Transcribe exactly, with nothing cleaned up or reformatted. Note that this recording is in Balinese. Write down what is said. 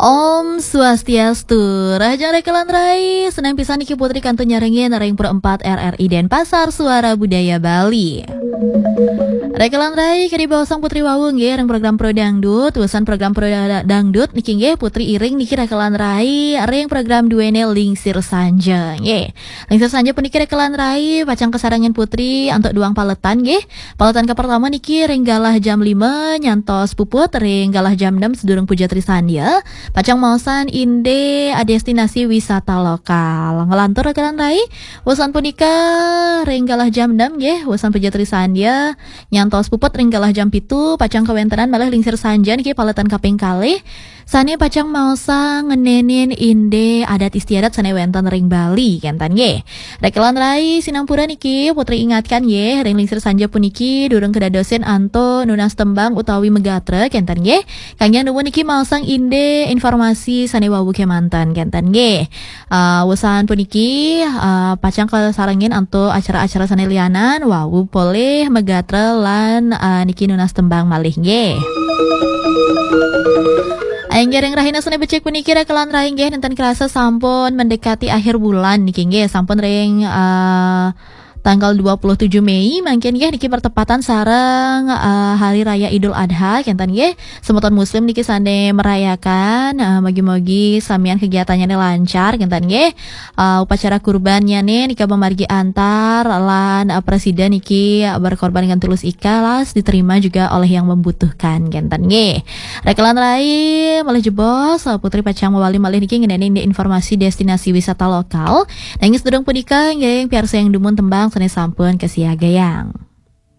Om Swastiastu, rahajeng rekelan rai, seneng pisan niki Putri kantun nyarengin ring Pro empat R R I Denpasar, Suara Budaya Bali. Rekelan rai, kadi baosang Putri wau nggih ring program Pro Dangdut, wusan program Pro Da-, Dangdut niki nggih Putri iring niki rekelan rai ring program duene Lingsir Sanja nggih. Lingsir Sanja puniki rekelan rai, pacang kasarengin Putri antuk duang paletan nggih. Paletan kapertama niki ring galah jam lima nyantos puput ring galah jam enam sedurung puja Trisandya. Pacang maosan indik destinasi wisata lokal. Nglantur rekelan rai, wusan punika ring galah jam enam nggih, wusan puja Trisandya nyantos puput ring galah jam pitu, pacang kawentenan malih Lingsir Sanja niki paletan kaping kalih. Sane pacang maosang ngenenin indik adat istiadat sane wenten ring Bali, kenten nggih. Rekelan rai sinampura niki, Putri ingatkan nggih, ring Lingsir Sanja puniki durung kedadosin antuk nunas tembang utawi megatra, kenten nggih. Kangge nuwun niki maosang indik informasi sane wau kemanten, kenten nggih. Ah, wusan puniki, ah, pacang kasarengin antuk acara-acara sane lianan, wau polih megatra lan, ah, niki nunas tembang malih nggih. Inggih ring rahina sane becik puniki rekelan rai nggih, nenten kerasa sampun mendekati akhir bulan niki nggih, sampun ring, ah, tanggal dua puluh tujuh Mei mangkin nggih, niki bertepatan sareng, ah, Hari Raya Idul Adha kenten nggih. Semeton muslim niki sane merayakan, ah, mugi-mugi samian kegiatannya lancar kenten nggih. Ah, upacara kurbannya nika mamargi antar lan, ah, presida niki berkorban dengan tulus ikhlas, diterima juga oleh yang membutuhkan kenten nggih. Rekelan rai malih jebos, ah, Putri pacang mawali malih niki ngeneni indik informasi destinasi wisata lokal. Nanging sedurung punika nggih piarsayang dumun tembang sane sampun kasiagayang.